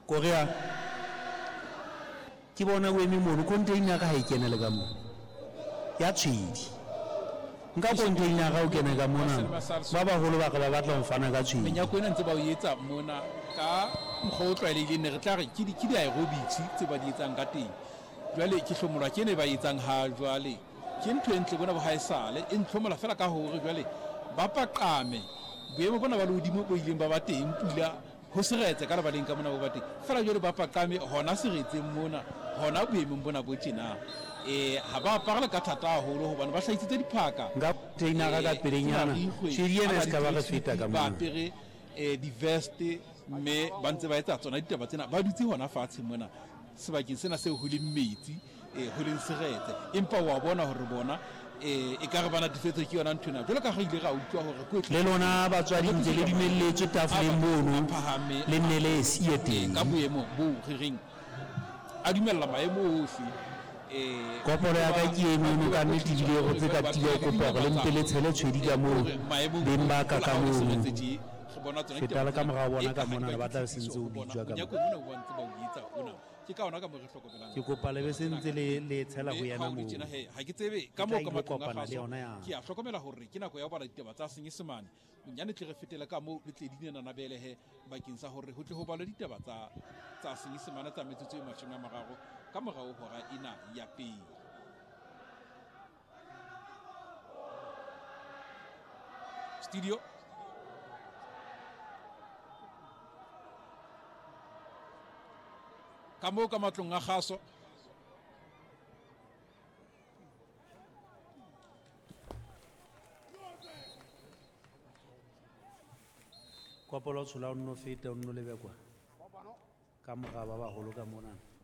Korea, ke bona o eme mono, container ha e kene le ka moo. Ya tshwedi. Nka container o kene ka mona. Ba baholo ba re ba batla ho fana ka tshwedi. Menyako ena ntse ba o etsa mona ka mokgwa o tlwaelehileng, ne re tla re ke di-aerobics tse ba di etsang ka teng. Jwale ke hlomolwa ke ena e ba e etsang ha jwale. Ke ntho e ntle bona bo haesale e ntlhomola fela ka hore jwale ba paqame boemo bona ba lehodimo bo ileng ba ba teng, pula ho seretse ka lebaleng ka mona bo ba teng fela, jwale ba paqame hona seretseng mona, hona boemong bona bo tjena. Ha ba apare le ka thata haholo hobane ba hlahisitse diphaka. Nka containera ka pelenyana, tshwedi ena e se ka ba re feta ka ba mona. apere di-vest, mme ba ntse ba etsa tsona ditaba tsena, ba dutse hona fatshe mona sebakeng sena seo ho leng metsi, ho leng seretse, empa wa bona hore bona e ka re ba natefetswe ke yona nthwena, jwalo ka ha re ile ra utlwa hore kwetliso Le lona batswadi ntse le dumelletswe tafoleng mono, phahame le nne le siye teng. Ka boemo bo re reng a dumella maemo ohle. Koporo ya ka ke eno ka nnete, ebile e rotse ka tiya. Ho kopa hore le mpe le tshele tshwedi ka moo, beng ba ka ka mono. Feta le ka morao bona ka monana, ba tla be se ntse o bitswa ka mona. Ke ka ona ka mo re hlokomelang. Ke kopa le be se ntse le tshela ho yena moo. Ha ke tsebe ka Ke moo tla ka ilo matlong a kopana le kgaso yona ya. Ke a hlokomela hore ke nako ya ho bala ditaba tsa Senyesemane. Bonyane tle re fetele ka moo le tle dinena belehe bakeng sa hore ho tle ho balwe ditaba tsa Senyesemane tsa metsotso e 30 ka morao hora ena ya pele. Studio. Ka moo ka matlong a kgaso. Kopolo tshola o nno feta, o nno lebe kwa. Ka mora ba baholo ka mona.